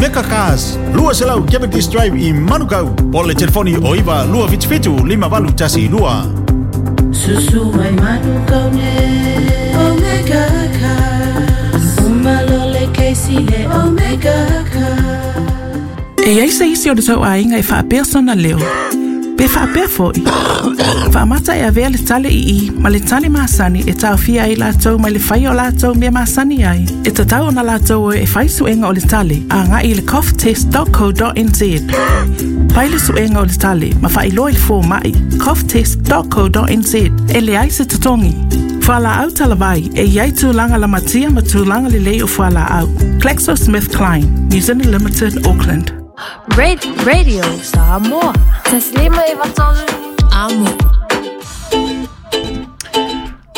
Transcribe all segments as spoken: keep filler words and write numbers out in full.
Omega Cars, lua selau Cavendish Drive i Manukau. Po le telefoni o iva lua fitu fitu lima valu tasi lua. Susu mai Manukau ne Omega Cars. Umalole keisi le Omega Cars. E ai se isi o le tau aiga e faapea sona leo. Pe faapea foi. Faamata e avea le tale i i ma le tale masani e taofia ai latou mai le fai o latou mea masani ai. E tatau ona latou e fai suega o le tale a ngai i le cough test dot co dot n z. Fai le suega o le tale ma faailoa i le fōma'i cough test dot co dot n z e leai se totogi. Fualaau talavai e iai tulaga lamatia ma tulaga lelei o fualaau. GlaxoSmithKline, New Zealand Limited, Auckland. Radio, Radio Samoa. Taslima e vatolu amo.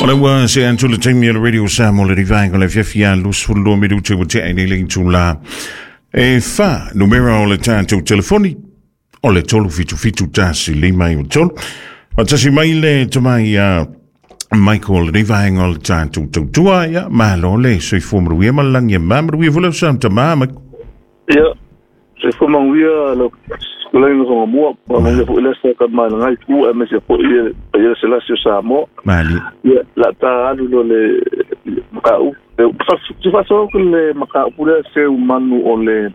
Ola ua se antu le taimi o le Radio Samoa le rivaenga le fiafia lusfulu minuti ua tea nei le tula. E fa numera o le tātou telefoni o le tolu fitu fitu tasi lima i o tolu. O tasi mai le tamai a Michael rivaenga o le tātou tautua ia malo le soifua maruia malangi e mamaruia vula sa tamā Michael. Ia. Se fo manguia lo kulai no mua pa manguia fo ile sa ka mai ngai ku e me se fo ile ile se la se sa mo mali ia la ta alu lo le maka u fa se fa so ku le maka u le se manu o le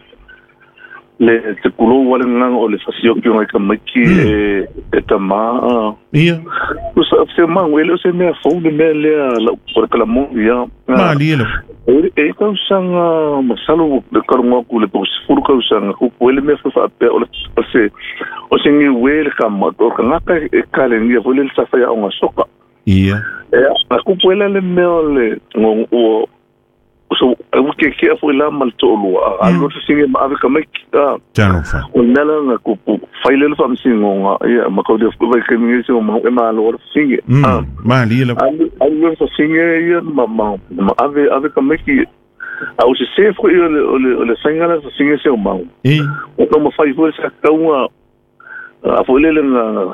le te kulo wale ngang o le fasio ki ngai ka maki e e tama ia o sa se mangu ele se me fo de me le la por kala mo ia mali lo e e kausanga masalo le kalonga ku le furu kausanga ku le me fa pe o se o se ngi we le ka ma o ka ngaka e kale ngi fo le sa fa ya o soka ia e a ku pele le me o le o so e u ke ke fo la mal to lo a lo se ngi ma ave ka mai ka tano fa o nela nga ku fa ile le fa msingo nga ia ma ko de fo ke ngi se o ma ma lo singe ah mali le a lo se singe ia ma ma ma ave ave ka mai ki a o se se fo ile le le singa la singe se o ma e o ka ma fa ifo sa ka uma a fo ile nga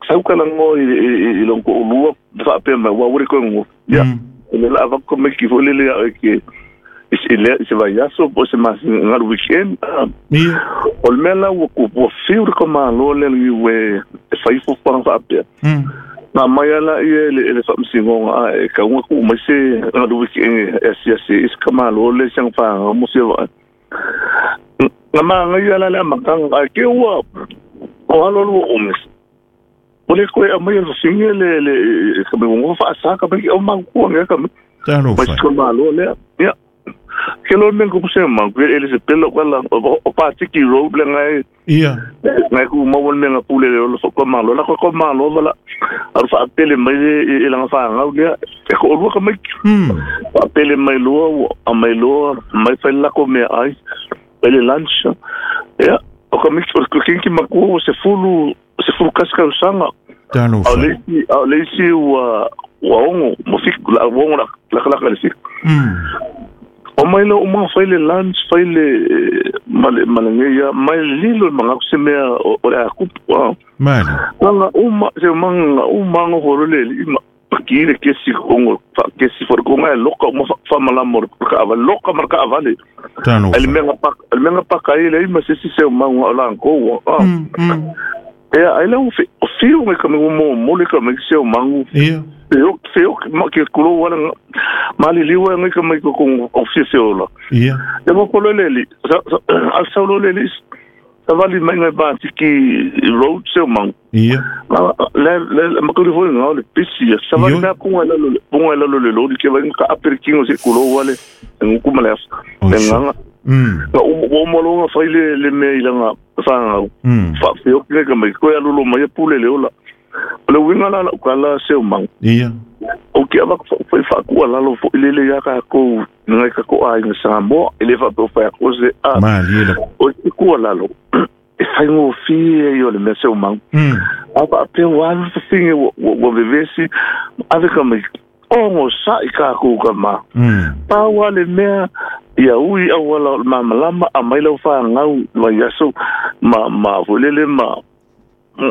sa ka la ngo i lo ko lo fa pe ma wa uri ko ngo ya le la va ko me ki fo le le ke ile se va ya so po se mas ngal weekend ia o le mela o ko po fiu ko ma lo le le we fa ifo fa fa pe na mai ala ia le le fa msingo a e ka uma ku mai se ngal weekend e se se is ka ma lo le sang fa mo se va na ma ngai ala le ma kang a ke ua o alo lo o mes o le koe a mai le singe le le ka me ngo fa sa ka me o ma ku ngai ka me tano fa ko ma lo le ya ke lo men ko se ma ku ele se pelo wala o pa tiki road le ngai ia ngai ku mo won menga pule le lo ko ma lo la ko ma lo wala ar fa pele mai e la fa ngau le e ko lo ka mai fa pele mai lo a mai lo mai fa la ko me ai pele lunch ya o ka mix ko kinki ma ku se fulu se fulu kaska usanga tano fa le le si wa wa ongo mo fik la ongo la la la la sik o mai lo uma fai le lunch fai le male malangeia mai lilo manga se mea o le ku mali nga uma se manga uma ngo horo le ima pakire ke si kongo fa ke si for konga loka uma fa malamo ka ava loka marka avale tano el menga pak el menga pak ai le ima se si se manga o la ko e ai le o fiu me ka mo mo le ka me se mangu ia eu eu que kulo wala mali liwa ngai ka mai ko o fiu la ia e mo ko le li al saulo le li savali mai ngai ba tiki road se mang ia le le ma ko ri ngo le pisi savali na ku la lo ku la lo le lo ke va ka aperkingo se kulo wale nguku mala nga mm o o mo lo nga fai le le me ilanga fa fa fiu ke ka mai ko ya lo mai pule le ola le winga la ka la se mang ia o ke ava foi fa ku la lo fo ile le ya ka ko ngai ka ko ai sa mo ile fa po fa ko se a mali le o ku la lo e fai ngo fi yo le me se mang mm a pa pe wa fi wo wo vevesi ave ka mai o ngo sa i ka ku ka ma mm pa wa le mea ia ui au wala ma malama a mai lau fa ngau ma yaso ma ma volele ma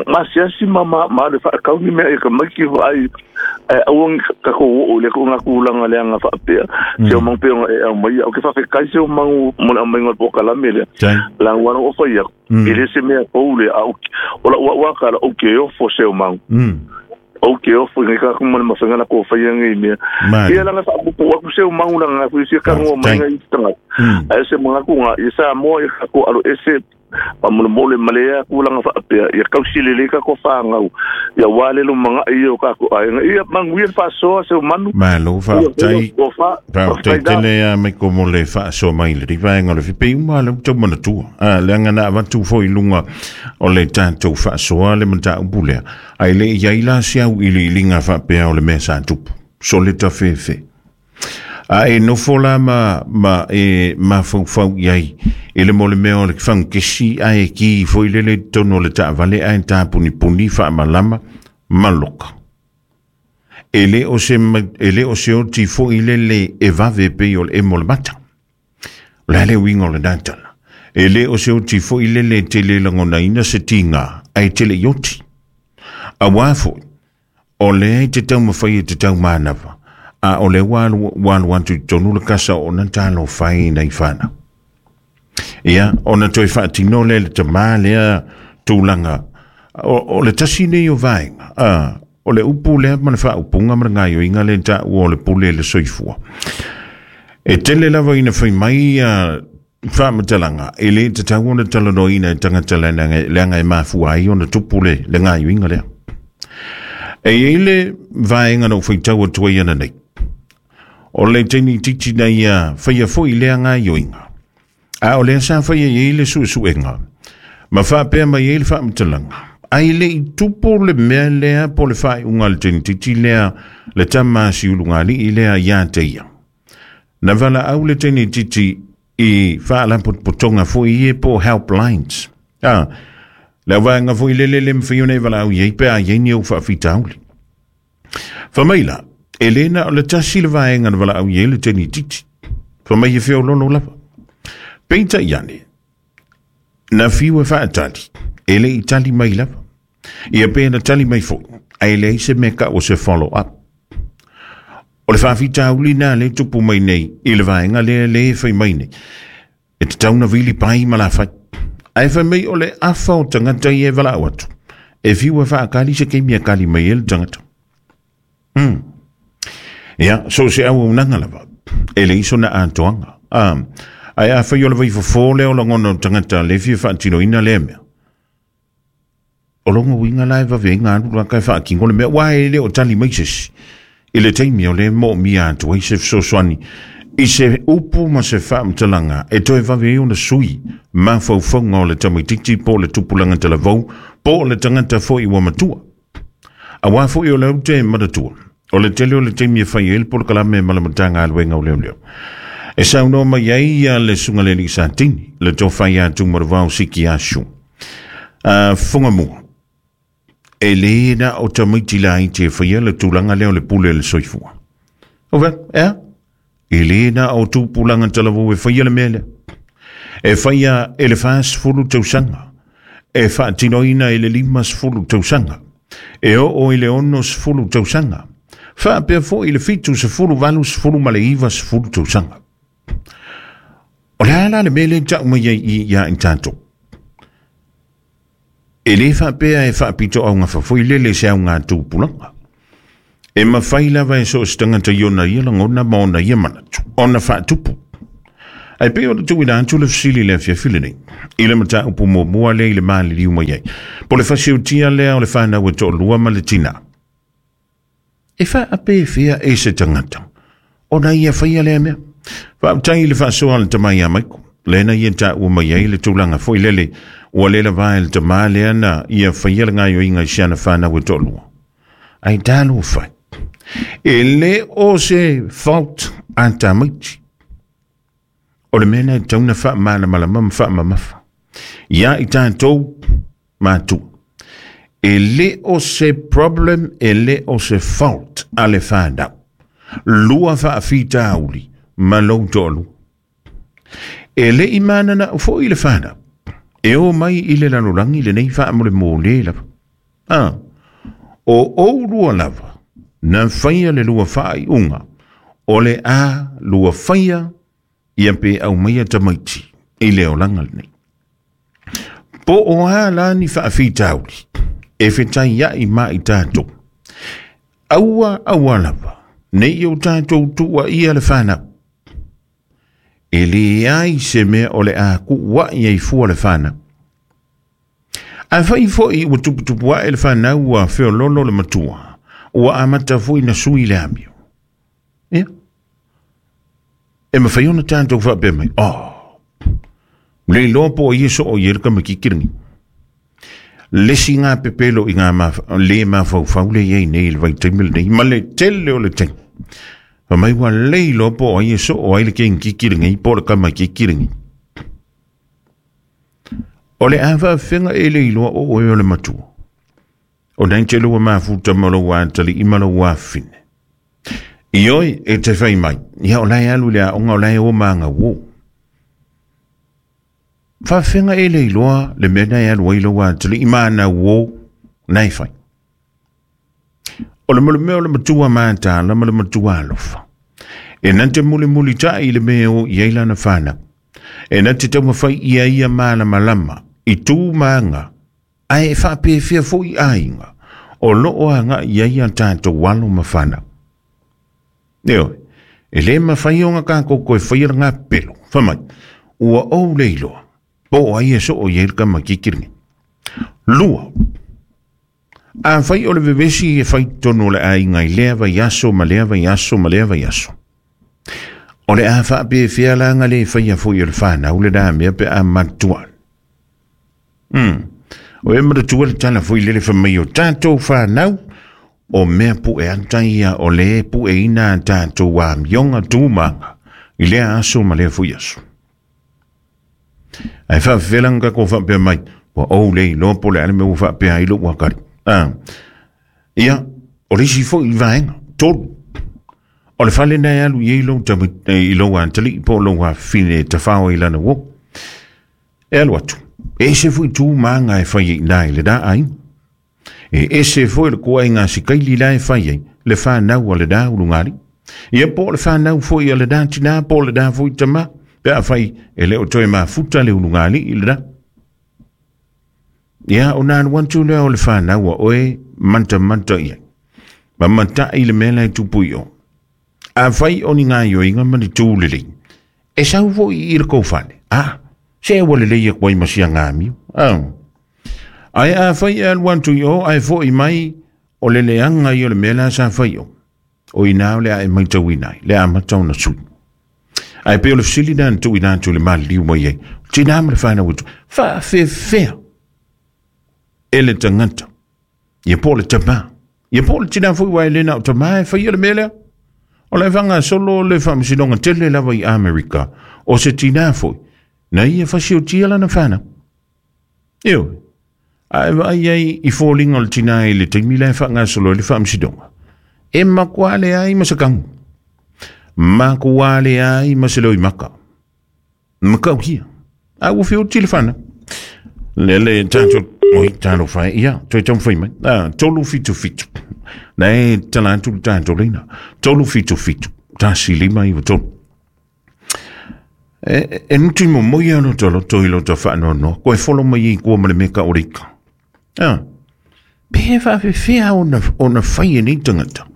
ma siasi ma ma ma le fa kau ni mea e ka maki ai Au ka ko o le ko ngakulanga le anga faapea se o mang pe e au mai au ke fa kai se o mang mo le mai ngol pokalame le la wana o fa ia ele se mea o le au o la wa ka la o ke o fo se o mang o ke o fo ngi ka ko mo ma fanga na ko fa ia ngi mea ia la fa ko wa ku se o mang la nga ku se ka ngo mai ngi tanga ai se mo ku nga isa mo e ko alo ese pa mo mo le malea ku langa fa pea ia kausile le ka ko whangau ia wale lo manga ia ka ko ai ia manguia fa so se manu malo fa tai fa tai tele a me ko mo le fa so mai le riva ngo le fi uma le to mo tu a le nga na va tu fo ilunga o le tanto fa so le mata upule ai le ia ila sia u ili linga fa pea o le mesa tu so le ta fe fe a e no fola ma ma e ma fau fau iai e le mole mea o le whankesi a e ki foi lele tono le taavale a e tāpuni puni wha malama maloka. E le o se, e le o se o ti foi lele e vave pe o le e mole mata. O le ale wingo le nantala. E le o se o ti foi lele te le langona ina se tinga a e tele ioti. A wā foi, o le e te tau mawhai e te tau mānawa. A o le walu walu atu tonu le kasa o na talo whai nei whana. Ia, o na toi whaatino le le tamā lea tūlanga. O, o le tasi nei o vaenga. A, o le upu lea ma le whaupunga ma le ngaio inga le ta o le pule le soifua. E tele lava ina whai mai a whaamatalanga. E le te tau ona talanoina e tangata leanga e mafua ai o na tupu le le ngaio inga lea. E eile vaenga no whai tau atua ana nei. O le tini titi nei a whaia foi lea ngaio inga. A o lea sa whaia i le suesuenga. Ma whaapea mai e le whaamatalanga. Ai le i tupu le mea lea po le whai unga le tini titi lea le tama si ulungali i lea ia te ia. Na wala au le tini titi i whaalapotpotonga foi e po helplines. A, le waenga foi lele le mwhione e wala au iei pe a iei ni au whaafitauli. Whamaila, Elena o le tasi le waenga na wala au iei le tini titi. Whamai e whio lolo lapa. Peita iane, na fiu e whaatali, ele i tali mai lapa. Ia pe na tali mai fo, a ele i se meka o se follow up. O le whaafitauli nā le tupu mai nei, i le waenga le le whai mai nei. E te tauna vili pai ma la whai. Ai whai mai o le awha o tangata i e wala au atu. E fiu e whaakali se keimia kali mai e le tangata. Hmm. Ia, so se au unanga lava. E le iso na atoanga. Um, ai a whai o le vai fofo leo langono tangata le fia whaatino ina lea mea. O longo winga lai wawe ngā alu kai whaakingo le mea. Wai le o tali mai sesi. I le teimi o le mo mia atu ai se fesoasoani. I se upu ma se whaamatalanga e toe wawe e ona sui ma whauwhaunga o le tamaititi po le tupulanga te lavau po le tangata foi ua matua. A wā foi o le au te matatua. O le tele o le teimi e whai ele po le kalame malamatanga aluenga o leo leo. E saunoa mai ai a le sunga le li santini le tō whai atu maravau siki asu. Uh, Whonga mua. E le na o tamaiti la i te whaia le tūlanga leo le pule le soifua. O ve, ea? E le na o tūpulanga talavu e whaia le mele. E whaia e le whaas fulu tausanga. E whaatinoina e le limas fulu tausanga. E o o i le ono sfulu tausanga. Whaapea fo i le fitu se fulu valu sfulu maleiva sfulu tausanga. O le ala le mele tau mai i ia i tātou. E le whaapea e whaapito au ngā whawhoi lele se au ngā tūpulanga. E mawhai lava e so se tangata i ona ia langona ma ona ia manatu. Ona whaatupu. Ai pe o le tuina atu le fisili lea fiafili nei. I le mata upu mua lea i le maali liu mai ai. Po le whasiutia lea o le whanau e to'olua ma le tina. E whaape whia e se tangata. Ona ia whaia lea mea. Whaaptai le whaasoa le tamai a maiko. Lena ia tā ua mai ai le tūlanga foi lele. Ua lela vai le tamā lea na ia whaia le ngaio inga i siana whanau e to'olua. Ai tālo whai. E le o se fault a tamaiti. O le mena e tauna wha mana malama ma wha mamafa. Ia i tātou mātua. E le o se problem, e le o se fault a le whanau. Lua wha awhita auli, ma lou to'olua. E le i manana o fo i le whanau. E o mai i le lalolangi le nei wha amole mō le lava. Ah, o o rua lava. Na whaia le lua whaai unga. O le a lua whaia ia pe au maia tamaiti i le olanga nei. Po o a la ni whaawhitauli e whitai ia i ma i tātou. Aua aua lava, nei o tātou tua ia le whanau. E le ai se mea o le a kua ia i fua le whanau. A whai foi ua tuputupu a e le whanau ua whiololo le matua, ua amata foi na sui le amio. Ia. E mawhai ona tātou whapea mai, oh, le lopo o ieso o ie le kamakikiringi. Lesi ngā pepelo i ngā ma, le mawhauwhau le iei nei le vaitaimele nei, ma le tele o le tei. Fa mai wa lei lopo o ieso o ai le kengikiringi, po le kamakikiringi. O le awha whenga e le iloa o oe o le matua. O nei te lua mafuta ma lo wātali i ma lo wāwhine. I oi e te whai mai, ia o lai alu lea onga o lai o maanga wō. Whawhenga e le iloa le mea e alu ai lo wātali i maana wō nei whai. O le mole mea o le matua mātāla ma le matua alofa. E nante muli muli tai i le mea o i eilana whanau. E nante tauma whai ia ia māla malama i tū maanga ai e whapewhia fo i ainga o loo anga ia ia tātou walo ma whanau. Neo, e le mawhai o ngā kākou koe whaia ngā pelo. Whamai, ua ou le iloa, po ai e so o ie ka makikiringi. Lua, a whai o le vevesi e whai tono le ainga i lea vai aso, ma lea vai aso, ma lea vai aso. O le a whape whia langa le whaia fo i o le whanau le rā mea pe a matua. Mm. O e maratua le tala fo i lele whamai o tātou whanau, o mea pu e antaia o le pu e ina tātou a mionga tūmanga i lea aso ma lea fui aso. Ai whawhelanga ko whapea mai, wa o le lopo le ale me ua whapea i lo wakari. Ah. Ia, o le si fo i vaenga, tolu. O le whale nei alu i lo i lo antali po lo wa fine te whao i lana wo. E alu atu. E se fui tū maanga e whai i nai le da ai. E ese foi le kua i ngā sikaili la e whai ai, le whanau a le da ulungari. Ia po le whanau foi a le da tina, po le da foi tama, pe a whai e le o toe mafuta le ulungari i le da. Ia o nā wantu lea o le whanau a oe manta manta ia. Ma manta i le mea e tupu i o. A whai o ni ngā ioinga ma ni tūlele. E sau foi i le kouwhane. Ah, se e wale leia kwa i masia ngā miu. Ah. Ai a whai e alu antu i o, ai fo i mai o le leanga i o le mea sa whai o. O i nā o le a e mai tau i nai, le a matau na sui. Ai pe o le fsili nā ntu i nā tu le mali liu mai ai. Tina ma le whanau utu, wha whe whea e le tangata. Ia po le tama. Ia po le tina fui wai le nā o tama e whai o le mea lea. O le whanga solo le whamsinonga tele lava i Amerika. O se tina fui. Na ia whasi o tia lana whanau. Eo. Ai vai ai i fōlinga o le tina i le taimi lai whangasolo le whamsidonga. E makuale ai masakangu. Makuale ai maseloi maka. Makau hia. A ua whio tile whana. Le le tātou, oi tālo whai, ia, toi tau whai mai. Ah, tolu fitu fitu. Nei, tala atu le tātou leina. Tolu fitu fitu. Tasi lima i wa tolu. E, e nuti mo moi ano tolo toi lo ta whaanoa noa. Koe folo mai i kua ma le meka o reika. Ah, pe whawhewhea ona, ona whai e nei tangata.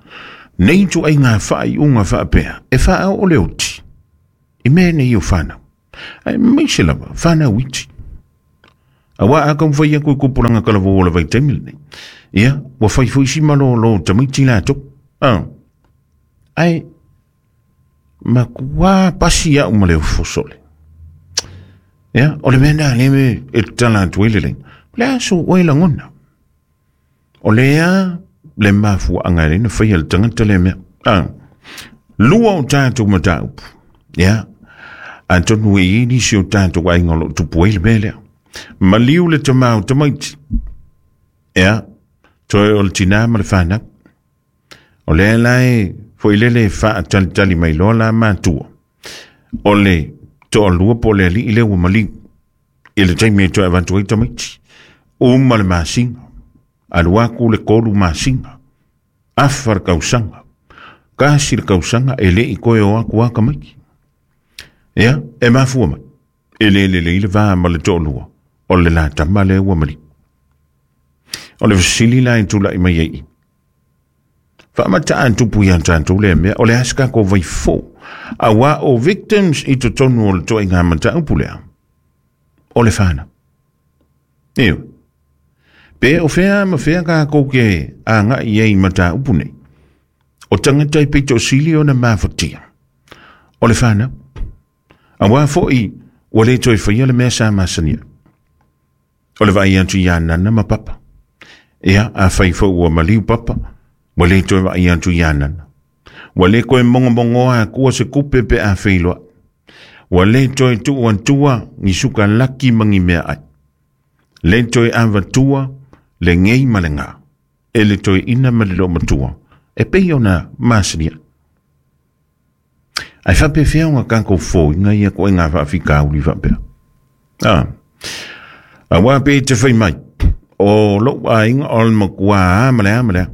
Nei tu ai ngā whai unga whaapea. E wha o le oti. I mea nei o whanau. Ai mai se lava, whanau iti. A wā a kau whai aku i kupuranga kalawo o le vai taimile nei. Ia, wa whai fui malo lo tamaiti lātou. Ah. Ai, ma kua pasi au ma le ufosole. Ia, o le mea nā le me e tala atu ele leina. Le aso oe langona. O lea le mafua anga le na whai le tangata le mea. Ah. Lua o tātou mataupu. Ia, antonu e ini si o tātou ai ngolo tupu e le mea lea. Maliu le tamau tamaiti. Ia, toe o le tina ma le whanau. O lea lai foi lele wha tali tali mai loa la mātua. O le toa lua po le ali i le ua maliu. I le taimi e toe avantu ai tamaiti. Uma le masinga. Alu aku le kolu masinga. Afa le kausanga. Kasi le kausanga e le i koe o aku aka mai. Ia, e mafua mai. E le le le le va ma le to'olua. O le la tama le ua mali. O le vasili la i tula i mai ei. Whaamata antupu i antantu le mea, o le aska ko vai fo. A wā o victims i te tonu o le toi ngā mata upu lea. O le whana. Eo. Pe o whea ma whea kā kouke a ngā i ei mata upu nei. O tangata i pito sili o na mawhatia. O le whana. A wā fo i o le toi whaia le mea sa masania. O le vai atu i anana ma papa. Ea, a whai fo ua maliu papa. Wa le toe vai atu i anana. Wa le koe mongo mongoa a kua se kupe pe a wheiloa. Wa le toe tuu antua ngi suka laki mangi mea ai. Le toe awatua le ngei ma le ngā. E le toe ina ma le lo matua. E pei ona masania. Ai whape whia o ngā kākou fō inga ia koe ngā whaafika uri whapea. Ah. A wā pe te whai mai. O lo a inga o le makua a ma le a ma le a.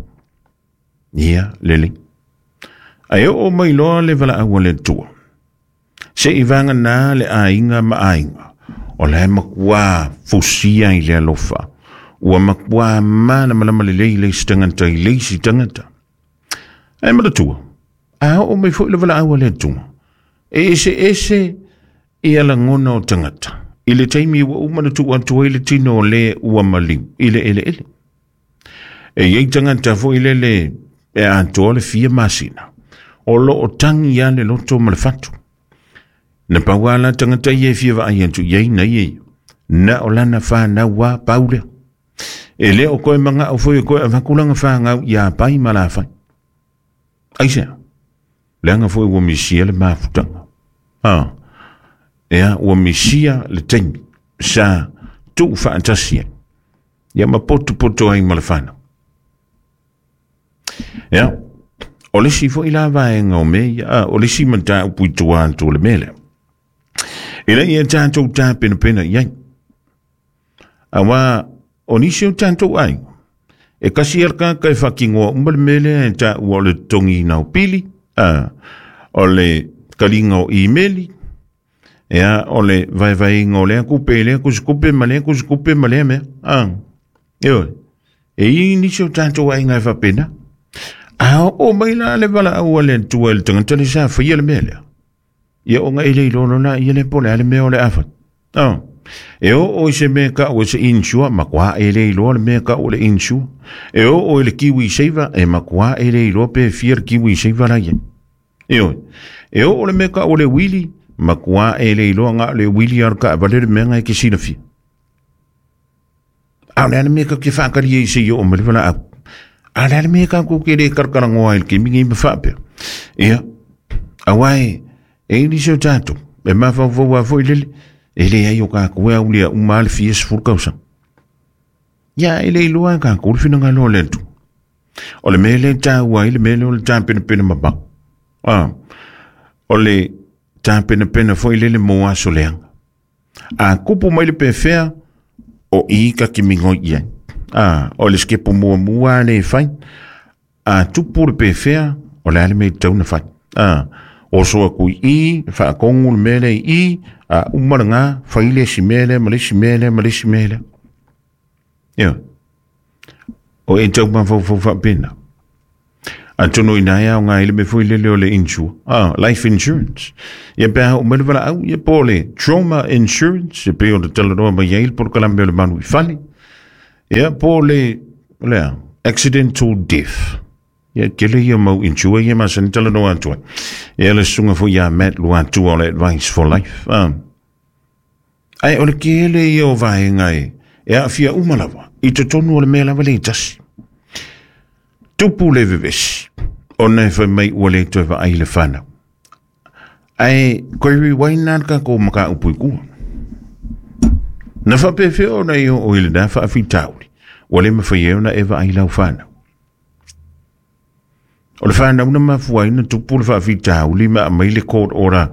Ia, lele. Ai o mai loa le wala aua le tua. Se i vanga nā le ainga ma ainga. O le makua fusia i le alofa. Ua makua mana malama le lei le sitangata i le sitangata. Ai ma le tua. A o mai fo i le wala aua le tua. E ese ese i ala ngona o tangata. I le taimi ua umana tua tua i le tino o le ua maliu. I le ele ele. E iei tangata fo i le le e atoa le fia masina. O lo o tangi ia le loto ma le fatu. Na paua la tangata ia e fia vaai atu iei na iei. Na o lana whanau wa paulea. E le o koe manga o foi koe avakulanga whangau ia pai ma la whai. Aisea. Leanga foi ua misia le mafutanga. Ah. Ea ua misia le taimi. Sa tuu whaatasia. Ia ma poto poto ai ma le whanau. Ia, o le si foi la vaenga o me, ia, o le si mata upu i tua atu le mele. E le ia tātou tā pena pena iai. A wā, o nisi o tātou ai. E kasi alka kai whakingoa umba le mele e tā ua o le tongi nau pili, a, o le kalinga o imeli, ia, o le vaivainga o lea kupe, lea kusikupe, ma lea kusikupe, ma lea mea. A, e oi. E i nisi o tātou ai ngai whapena. A o mai la le wala aua le tua le tangata le sa whaia le mea lea. Ia o ngai le ilono la ia le pole ale mea o le awhat. Oh. E o o se mea ka o se insua, makua e le iloa le mea ka o le insua. E o o le kiwi seiva, e makua e le iloa pe fia le kiwi seiva la ia. E o. E o o le mea ka o le wili, makua e le iloa ngā le wili ar ka avale le mea ngai ke sina fia. A le ana mea ka ke whaakari e se i o ma le wala au. A le ana mea ka ko ke le karakarangoa il ke mingi ma whaapea. Ia, a wai, e ini se o tātou, e mawhau a foi lele, e le ai o kā koe au lea uma le fia sefulu kausa. Ia, e le iloa kā koe le whina ngā loa le atu. O le mea le tāua i le mea le o le tāpena pena mapau. Ah, o le tāpena pena foi lele mō aso leanga. A kupu mai le pewhea, o i ka ki mingo ia. Ah, o le skepo mua mua le whai. A tupu le pewhea, o le ale mei tauna whai. Ah, o soa kui i, whaakongu le mele i, a umara ngā, whai le si mele, ma le si mele, ma le si mele. Ia. O e tau mawhau whau whapena. A tono ina ia o ngā ile me fui lele o le insure. Ah, life insurance. Ia pēha o mele wala au, ia po le trauma insurance, ia pē o le talanoa mai ia il por kalambe o le manu i fale. Ia po le, lea, accidental death. Ia kele ia mau insure, ia masani talanoa atua. Ia le sunga fo ia Matt Lua atua o le advice for life. Ah. Ai o le kele ia o vaenga e, e a fia umalawa, i te tonu o le mea lava le tasi. Tupu le vevesi, o nei whai mai ua le toe wa ai le whanau. Ai, koe riwaina ka ko maka upu i kua. Na whapewhea o nei o ile nā whaawhi tauri, ua le mawhai eo na ewa ai lau whanau. O le whanau na mafua ina tupu le whaawhi tauri ma amai le court ora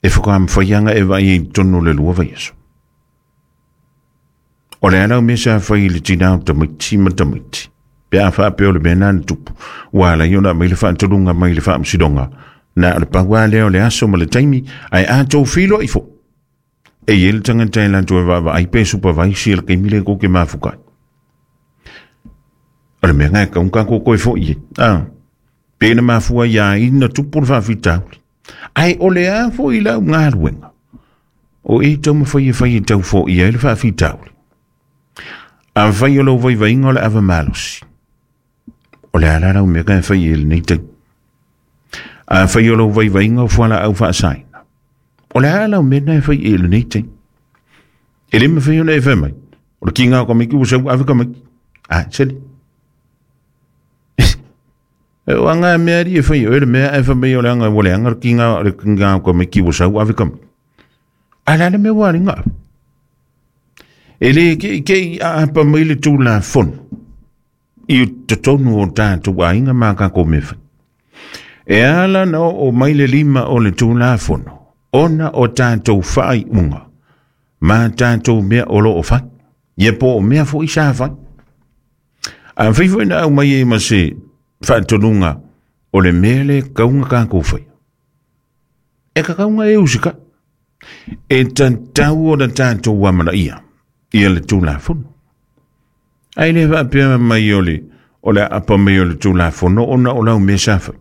e whakamwhaianga ewa ai i tonu le lua vaiaso. O le anau mea sa whai le tinau tamaiti ma tamaiti. Pe a whaapea o le mea nana tupu. Ua ala i ona mai le whaantolunga mai le whaamsilonga. Na o le paua lea o le aso ma le taimi, ai a tau filo i fo. E i ele tangata e lantu e vava ai pe supervise le kaimi le koke mafukai. O le mea ngai kaunga koko e fo i e. Ah, pe na mafua ia ina tupu le whaafitauli. Ai o le a fo i lau ngā O e tau mawhai e whai e tau fo i ai le whaafitauli. A whai o lau vai vainga o le awa malosi. O le ala lau mea kai whai e le nei tau. A whai o lau vai vainga o fuala au whaasaina. O le ala lau mea nai whai e le nei tau. E le mawhai o le e whai mai. O le ki ngā kamiki o sau awe kamiki. A, seli. O anga mea ri e whai o le mea e whai mai o le anga o le anga le ki ngā le ki ngā kamiki o sau awe kamiki. Ala le mea wari ngā. E le ke ke a apa mai le tū la fono. I te tonu o tātou ainga mā ka ko mewhai. E ala na o mai le lima o le tū la fono. Ona o tātou whai unga. Mā tātou mea o lo o whai. Ia po o mea fo i sa whai. A whai fo ina au mai e ma se whaatonunga o le mea le kaunga ka kōwhai. E ka kaunga e usika. E tatau o na tātou amana ia. Ia le tū la fono. Ai le whaapea mai o le, o le apa mai o le tū la fono ona o lau mea sawhai.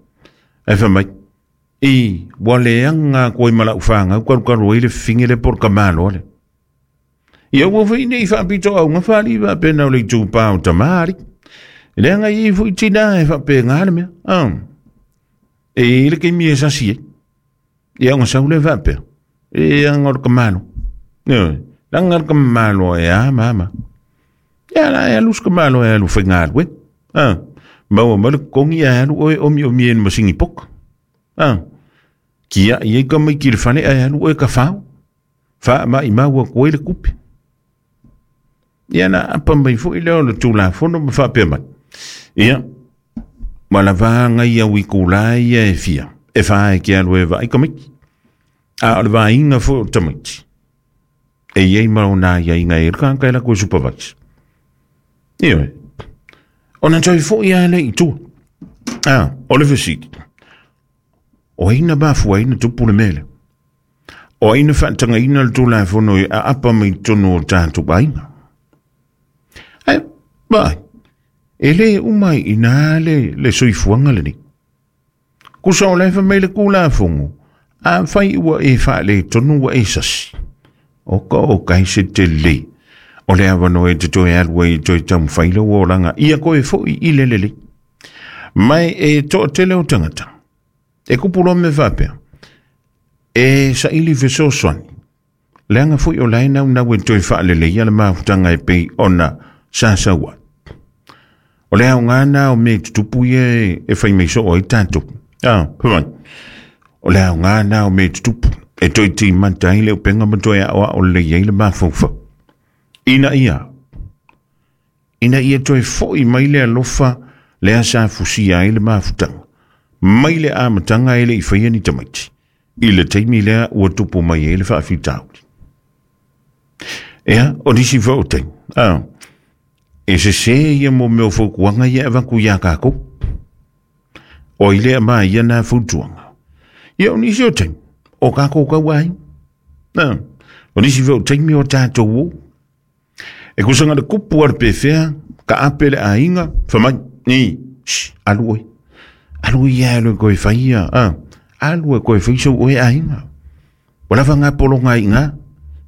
Ai wha mai, i wale anga koe mala uwhanga, ukaru karu ai le finge le por kamalo ale. Ia ua whai nei whaapito au ngā whali whaapea nau le tū pā o tamari. Le anga i fui tina e whaapea ngā le mea. Ah. E le kei mea sasi e. Ia nga sau le whaapea. E anga o le kamalo. Langa le kamalo e a mama. Ia la e alu kamalo e alu whaingalu e. Ah. Maua malu kongi e alu oe omi omi e masingi poka. Ah. Kia i e kamai ki le whane e alu oe ka whao. Wha ma i maua koe le kupe. Ia na apa mai fo i leo le tū la fono ma whaapea mai. Ia. Ma la vānga ia wiku la ia e fia. E whae ki alu e vai kamiki. A o le vāinga fo o tamaiti. E iei marau nā ia inga e rka kai la koe supervise. Ia e. O na toi fo ia le i tua. Ah, o le fesiti. O aina mafua aina tupu le mele. O aina whaatanga ina le tū la fono i a apa mai tono o tātou aina. Ai, bai. E le umai i nā le, le soifuanga le ni. Kusa o lefa mai le kula fongo. A whai ua e wha le tonu ua e sasi. O ka o kai se te le. O le awano e te toi alua i toi tamu whaila o langa. Ia koe fo i i le lele. Mai e to te leo tangata. E kupulo me whapea. E sa ili fesosoani. Leanga fo i o lai nau nau e toi whaalele ia le mafutanga e pei ona sa saua. O le au ngā o me tutupu ia e whai mei so o i tātou. Ah, pamai. O le au ngā o me tutupu. E toi ti mata i le upenga ma toi a oa o le iei le mafaufa. Ina ia. Ina ia toi foi mai le alofa le asa fusia ai le mafutanga. Mai le amatanga e le i whaia ni tamaiti. I le teimi lea ua tupu mai e le whaafitauli. Ea, o nisi whaoteng. Ah. E se se ia mo meo faukuanga ia awaku ia kākou. O i lea maa ia nā fautuanga. Ia o nisi o teimi. O kākou kau ai. Ah. O nisi whaoteng mi o tātou o. E kusanga le kupu ar pewhea, ka ape le ainga, whamai, ni, shh, alu oi. Alu ia alu koe whaia, ah. Alu e koe whaisau oe ainga. Wala whanga polo ngā inga,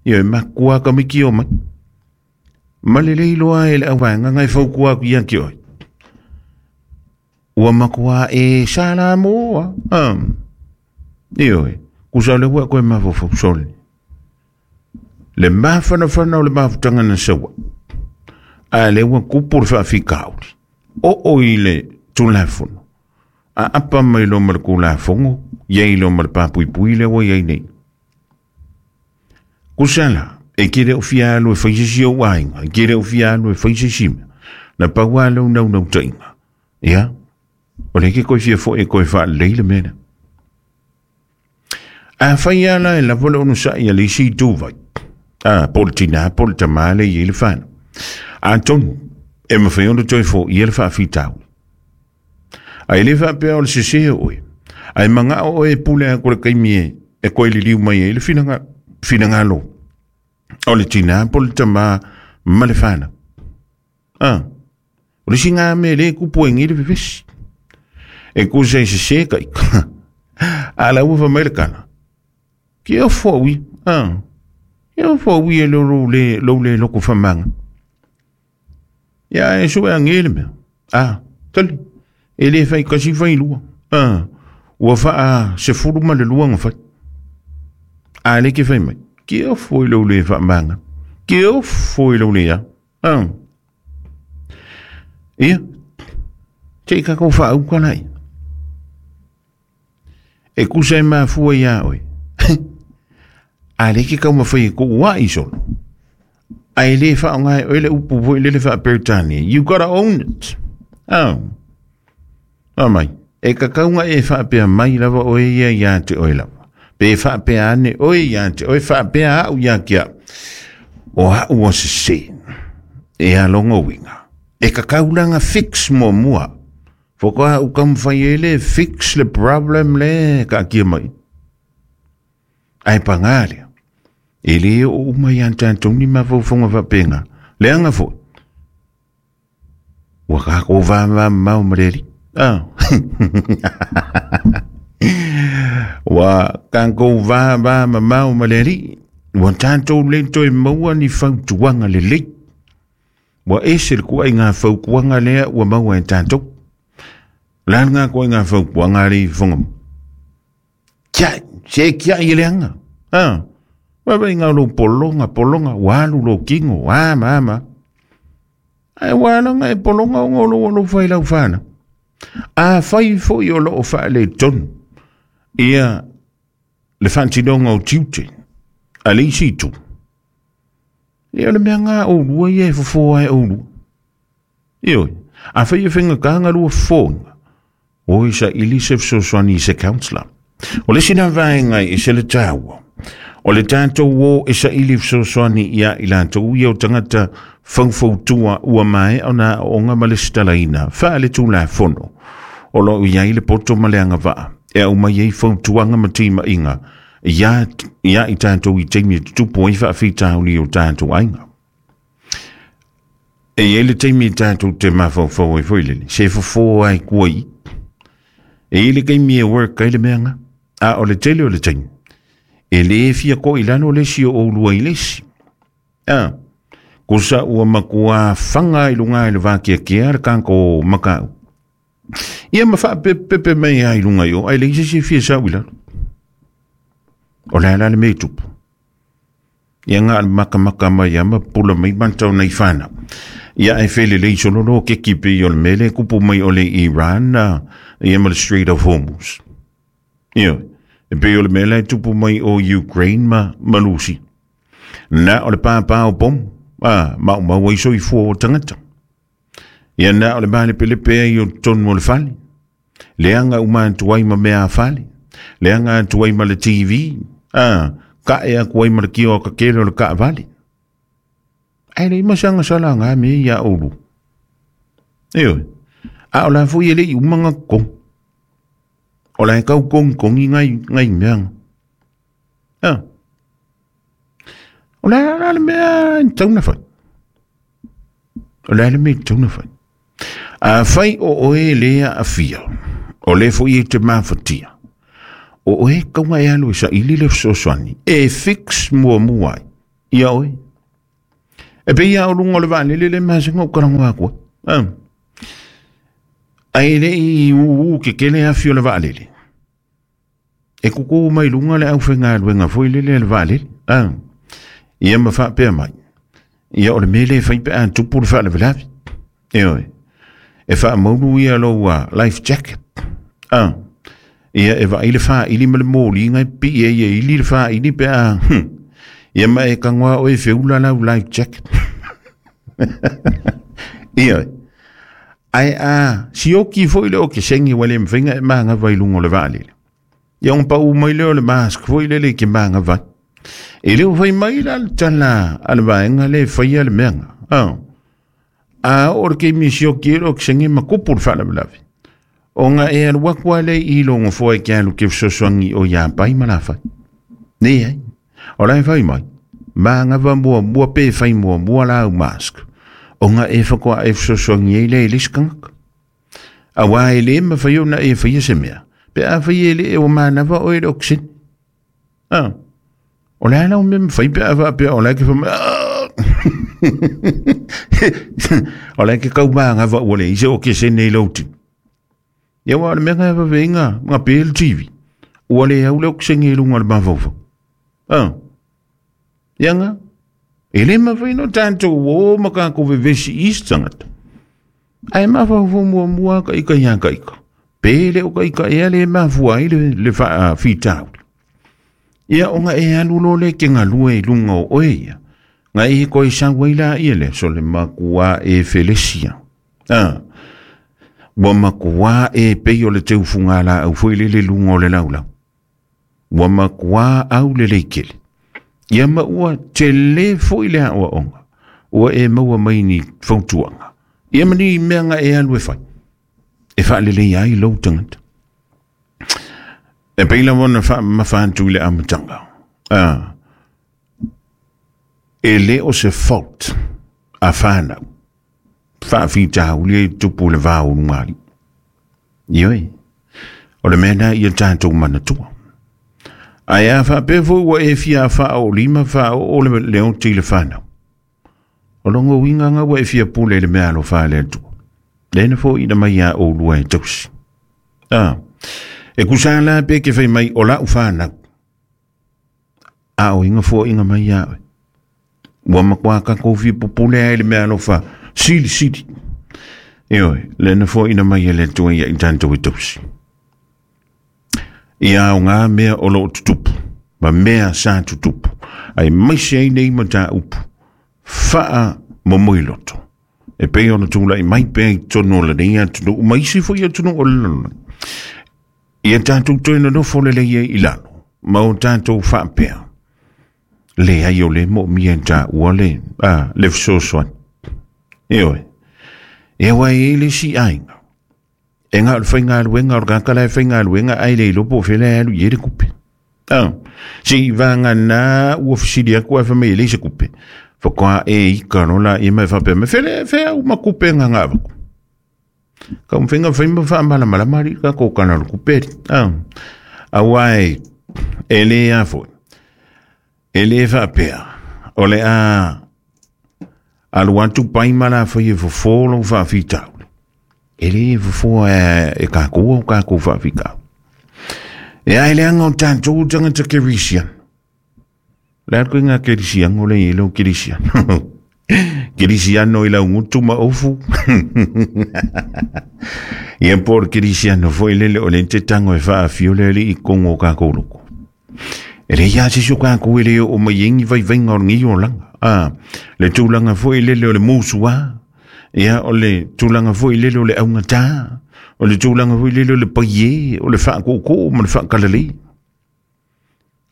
ia e makua ka miki o mai. Malele iloa e le awanga ngai whaukua ku ia ki oi. Ua makua e sala moa, ah. Ia oe, kusa le ua koe mawhawhau soli. Le mawhanawhana o le mawhutanga na sawa. A le ua kupu le whaafikauri. O o i le tūlafono. A apa mai lo ma le kulafongo, iei lo ma le papuipui le ua iei nei. Kusala, e kere o fia alu e whaisisi o ainga, e kere o fia alu e whaisisi mea. Na paua lau nau nau tainga. Ia, o le ke koe fia fo e koe wha leile mena. A whai ala e lava le ono sa ia le isi tūvai. Ah, po le tina, po le tamale i le whana. A tonu, E mawhai ona toi fo i ele whaafitau. Ai le whaapea o le sese oe. Ai manga o e pule a kore kaimi e e koe liliu mai e le finanga, finangalo. O le tina po le tama ma le whana. Ah. O le singa me le kupu e ngire vevesi. E kusa i sese kai. A la ufa mai le kana. Ki o fo ui. Ah. Ki o fo ui e lo le lo le loko whamanga. Ia e sue a ngele mea. Ah, tali. E le whai kasi whai lua. Ah. Ua wha a se furu ma le lua nga whai. A le ke whai mai. Ki o fo i lo le whamanga. Ki o fo i lo le ya. Ah. Ia. Te i kako wha au kalai. E kusa e mafua ia oe. A le ke kau mawhai ko ua i solo. A e le wha ngai oe le upu voi le le wha Britannia. You gotta own it. Oh. Oh mai. E kakaunga e wha pea mai lava oe ia ia te oe lava. Pe wha pea ane oe ia te oe wha pea au ia kia. O ha ua se se. E a longo winga. E kakaulanga fix mua mua. Foka u kam whai ele fix le problem le ka kia mai. Ai pangalia. E le o umai antan toni ma faufonga wapenga. Leanga fo. Waka ko va va mau mareri. Ah. Wa kanko va va mau mareri. Wa tanto le toi maua ni fautuanga le le. Wa ese le kua i ngā faukuanga lea ua maua e tanto. Lan ngā kua i ngā faukuanga le fonga. Kia, se kia i leanga. Ah. Wa vai ngā lo polonga, polonga, walu lo kingo, ama, ama. Ai wala e polonga o ngolo lo whai lau whana. A whai fo i o lo o wha le tonu. Ia le whantinonga o tiute. A le isi tu. Ia le mea ngā o lua ia e fofo ai o lua. Ioi, a whai e whenga kānga lua fōnga. O isa ili se fsoswani se counselor. O le sina vaenga i se le tāua. O le tātou o e sa ili fsoswani ia i lātou ia o tangata whaufautua ua mai o nā onga ma le stalaina. Wha le tū la fono. O lo ia i le poto ma le anga vaa. E au mai ei fautuanga ma tima inga. Ia, ia i tātou i teimi e tupu ai whaafitauli o tātou ainga. E e le teimi i tātou te mawhauwhau e foilele. Se fofo ai kua i. E le keimi e work ai le meanga. A o le tele o le teimi. E le e fia ko i lano lesi o lua i lesi. A, kosa ua makua whanga i lunga i le wākia kia le kanko makau. Ia ma wha pepe mai ai lunga i o, ai le isi se fia sa ui lalo. O la la le mei tupu. Ia ngā maka maka mai ama pula mai mantau nei whana. Ia e whele lei sololo ke kipe i o le mele kupu mai o le Iran ia ma le Strait of Hormuz. Ia, e pe o le mele e tupu mai o Ukraine ma Malusi. Nā o le pāpā o pom, a, mau mau ai soi fua o tangata. Ia nā o le male pele pea i o tonu o le fale. Leanga umantu ai ma mea a fale. Leanga atu ai ma le T V. Ah, ka e aku ai ma le kio ka kele o le ka vale. Ai le masanga sala ngā me ia olu. Eo, a o la fui ele i umanga kong. O la e kau kong kong i ngai, ngai meanga. Ah. O la la le mea i tauna whai. O la le mea i tauna whai. A whai o oe lea a fia. O le fui e te mawhatia. O oe kaunga e alu e sa ili le fsoswani. E fix mua mua ai. Ia oe. E pe ia o lunga o le vālele le masenga o karango akua. Ah. Ai le i uu ke kele a fio le vālele. E kuku mai lunga le au whenga luenga foi lele le vālele. Ah. Ia ma wha pea mai. Ia o le mele whai pe a tupu le wha le velavi. E oe. E wha maulu ia loa life jacket. Ah. Ia e vai le wha ili ma le mōli ngai pi e ia ili le wha ili pe a. Hm. Ia ma e kangwa o e whiula lau life jacket. Ia. Ai a, sioki foi le o ke sengi wale mwhinga e maanga vai lungo le vaalele. Ia ong pa u mai leo le mask foi le le ke maanga vai. E leo whai mai la le tala a le vaenga le whaia le meanga. Ah. A o le keimi sioki e le okesene ma kupu le faalavelave. O ngā e alu aku a le i longo foa e ke alu ke fesoasoani o ia pai ma lafai. Nei ai. O lai fai mai. Ma ngā va mua mua pe fai mua mua la au mask. O ngā e whakoa e fesoasoani e le e le sikangaka. A wā e le ma whai o na e whai se mea. Pe a whai e le e o mānawa o e le okesene. Ah. O le ala o mea mwhai pe a wha pe o lai ke wha o lai ke kau maa ngā ua le ise o ke sene i lauti. Ia wā le mea ngā wha ngā ngā pe le T V. Ua le au le o ke sene i lunga le mawhauwhau. Ah. Ia ngā. E le mawhai no tātou o makako vevesi isi tangata. Ai mawhauwhau mua mua ka ika ia ka ika. Pe le o ka ika ea le mawhua i le, le wha whitauli. Ia o ngā e alu lo le ke ngā lue i lunga o oe ia. Ngā e koe sawa i la ia le so le makua e felesia. Ah. Ua makua e pei o le teufunga la au foi le le lunga o le laulau. Ua makua au le leikele. Ia ma ua te le foi le aua onga. Ua e maua mai ni fautuanga. Ia mani mea ngā e alu e whai. E whaalele ia i lau tangata. E peila wana wha mawhantu i le amatanga. Ah. E le o se fault a whanau. Whaawhita uli e tupu le vāu nungari. Ioi. O le mea ia tātou manatua. Ai a whaapefo ua e fia wha o lima wha o le leo ti le whanau. O longo winga ngā ua e fia pule le mea alo wha le atua. Lena fo ina mai a o lua e tausi. Ah. E kusa la pe ke whai mai o lau whanau. A o inga fo inga mai a oe. Ua makua ka kofi pupule ai le mea alofa. Sili, sili. Eoi, lena fo ina mai e le atua ia i tātou e tausi. Ia o ngā mea o loo tutupu. Ma mea sa tutupu. Ai maise ai nei ma tā upu. Whaa momoi loto. E pei ona tūla i mai pei tonu o le nei atunu. Maisi fo ia tunu o le lona. Ia tātou toina nofo le leia i lalo. Ma o tātou whaapea. Le ai o le mo mia tā ua le. Ah, le fesoasoani. Eoi. E wai e le si ainga. E ngā o le whainga aluenga o le kakala e whainga aluenga ai le ilopo o whela alu i e le kupe. Ah, si vanga nā ua fisili aku ai whamei e le se kupe. Whakoa e ika rola i mai whapea me whele whea uma kupe ngā ngā waku. Ka umwhenga whaima wha mala mala mari ka kōkana ro kuperi. Ah, a wai e le a foi. E le whapea. O le a alu atu pai mala whai e fofolo whawhitaule. E le fofo e, e kākua o kākua whawhikau. E ai le anga o tātou tangata kerisian. Le arko i ngā kerisian o le i leo kerisian. Kerisiano i lau ngutu ma ofu. Ia por kerisiano foi lele o le te tango e whaawhio le le i kongo kākou loko. E le ia sisu kākou e le o mai engi vai vainga o ngi o langa. Ah, le tūlanga foi lele o le mūsua. Ia o le tūlanga foi lele o le aungata. O le tūlanga foi lele o le paie, o le whaakoko ma le whaakalale.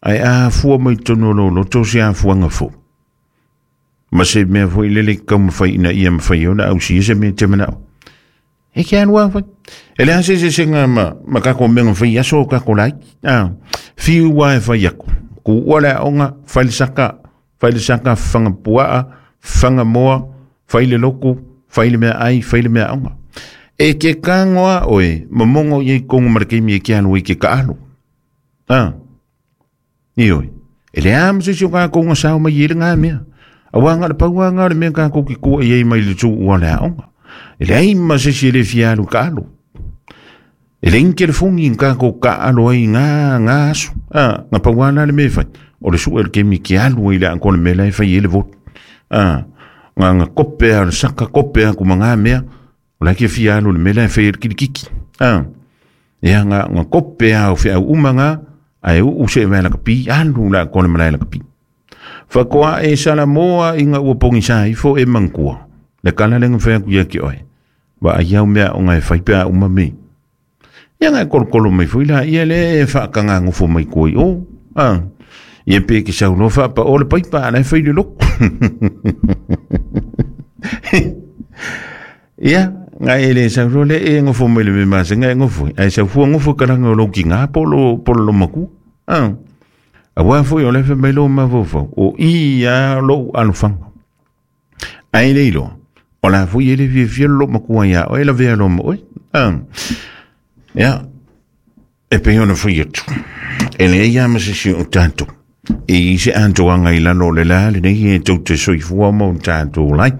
Ai a fua mai tonu lo loto se a fuanga fo. Ma se mea foi lele kau mawhai ina ia mawhai ona au si ese mea te manao. E kia anua whai. E le ase se se ngā ma, ma kako menga whai aso o kako lai. Ah, whiu wa e whai aku. Ku ua le aonga, whai le saka, whai le saka whanga puaa, whanga moa, whai le loko, whai le mea ai, whai le mea aonga. E ke kangoa oe, mamongo i kongo marakemi e kia anua i ke kaalo. Ah, ioi. E le amse si o kako ngā sao mai e le ngā mea. A wanga le paua ngā le mea kako ki kua i ei mai le tū ua le aonga. E le ai ma se si le fialu kaalo. E le inke le fungi kako kaalo ai ngā ngā asu. Ah, ngā paua ngā le mea whai. O le sua le kemi ki alu i le angko le mea lai whai e le votu. Ah, ngā ngā kopea, le saka kopea kuma ngā mea. O le kia fialu le mea lai whai e le kirikiki. Ah, ia ngā ngā kopea o whiau uma ngā. Ai u se mea la kapi, alu la angko le mea lai la kapi. Whakoa e salamoa i ngā ua pongi sa ifo e mangkua. Le kala lenga whea kuia ki oe. Wa ai au mea o ngai whaipea uma me. Ia ngai kolokolo mai fui la, ia le e whaakanga ngofo mai koi o. Ah, ia pe ki sau lofa pa o le paipa ana e whai le loko. Ia, ngai e le sau le e ngofo mai le mea se ngai ngofo. Ai sau fua ngofo kalanga o lau ki ngā polo polo lo maku. Ah. Awa foi o le fe mai lo mafofo. O i a lo alufanga. Ai le ilo. O la foi ele fia fia lo makua ia. O ela vea lo mo. Ah. Ia. E pe ona foi atu. E le ia ma se si o tātou. E i se antoanga i lalo le la le nei e tau te soifua mo tātou lai.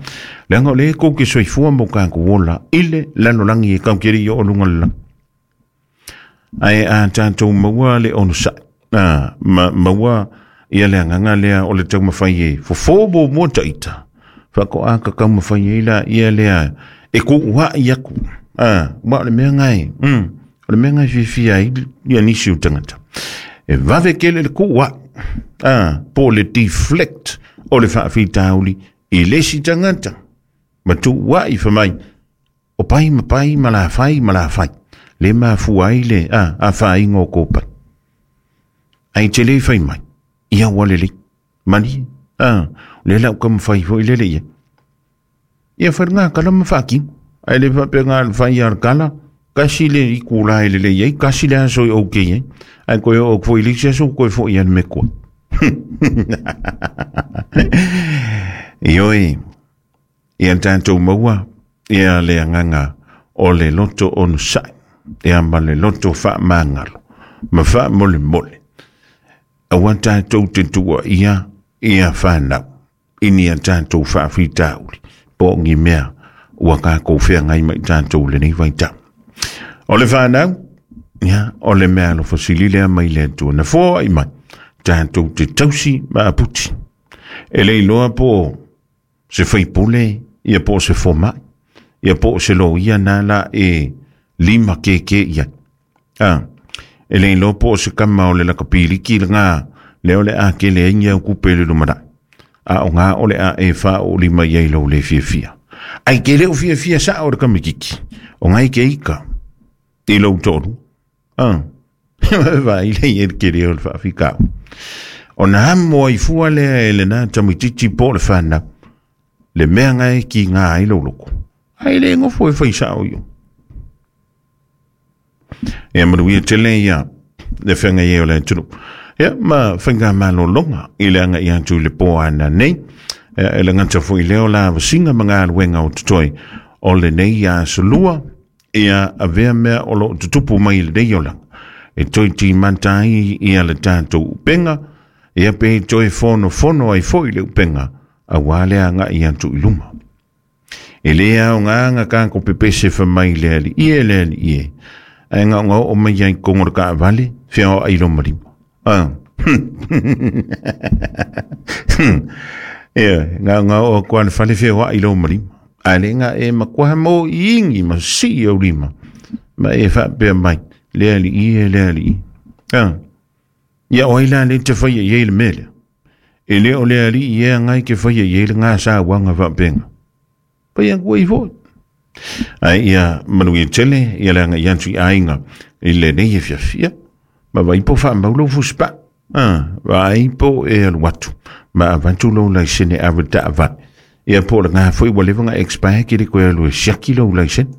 Leanga o le ko ke soifua mo ka kuola ile lalo langi e kau keri o lunga la. Ai a tātou maua le ono sa. Ah, ma, maua ia le anganga lea o le tau mawhai e fofo mo mo taita. Whako a ka kau mawhai e la ia lea e ku ua i aku. Ah, wa o le mea ngai. Mm, o le mea ngai fifi ai ia nisi o tangata. E vave kele le ku ua. Ah, po le deflect o le whaafitauli i lesi tangata. Ma tu ua i whamai. O pai ma pai ma la whai ma la whai. Le mafua ai le a, a whai ngō kōpai. Ai te le whai mai. Ia wale le. Mani. Ah, le lau ka mwhai fo i lele ia. Ia whai ngā kala ma whaki. Ai le whape ngā whai ar kala. Kasi le i kula i lele ia. Kasi le aso i oke ia. Ai koe o fo i lisi aso koe fo i an me koe. Ioi. Ia tātou maua. Ia le anganga o le loto onu sai. Ia ma le loto wha mangalo. Ma wha mole mole. Awa tātou te tua ia ia whanau. Ini a tātou whaafitauli. Po ngi mea ua kākou whea ngai mai tātou le nei waita. O le whanau, ia, o le mea alo fasili lea mai le atua. Na foa i mai, tātou te tausi ma aputi. E le iloa po se whaipule, ia po se fomai, ia po se lo ia nā la e lima ke ke ia. Ah. E le iloa po se kama o le lakapiliki le ngā leo le a ke le ingia kupe le lumara. A o ngā o le a e wha o lima iai lau le fia fia. Ai ke leo fia fia sa o le kamikiki. O ngai ke ika. I lau tolu. Ah. Vai le i ke leo le whaafikau. O nā moa i fua lea e le nā tamititi po le whana. Le mea ngai ki ngā ai lau loko. Ai le ngofo e whai sa o io. Ia manuia tele ia le whenga ia o le atunu. Ia ma whenga malolonga i le anga i atu i le pō ana nei. Ia e le ngata fo i leo la wasinga mga alwenga o tutoi o le nei ia solua. Ia avea mea o lo tutupu mai le nei o langa. E toi ti mantai ia le tātou upenga. Ia pe toi fono fono ai fo i le upenga. A wale anga i atu i luma. E lea o ngā anga kāko pepese whamai le ali ie le ali ie. Ai ngā ngā o mai ai kongo le kaavale, whia o ai lo marima. Ah. Ia, ngā ngā o kua le whale whia o ai lo marima. Ai le ngā e makuaha mō i ingi ma si au lima. Ma e whaapea mai, le ali ie, le ali ie. Ah. Ia o ai la le te whaia i le mele. E le o le ali ie ngai ke whaia i le ngā sa wanga whaapenga. Pai ang kua i foi. Ai ia manuia tele, ia le anga i atu i ainga i le nei e fiafia. Ma vai po wha maulo fuspa. Ah, vai po e alu atu. Ma avantu lo laisene awa ta avat. Ia po le ngā foi wa lewa ngā expire ki le koe alu e siaki lo laisene.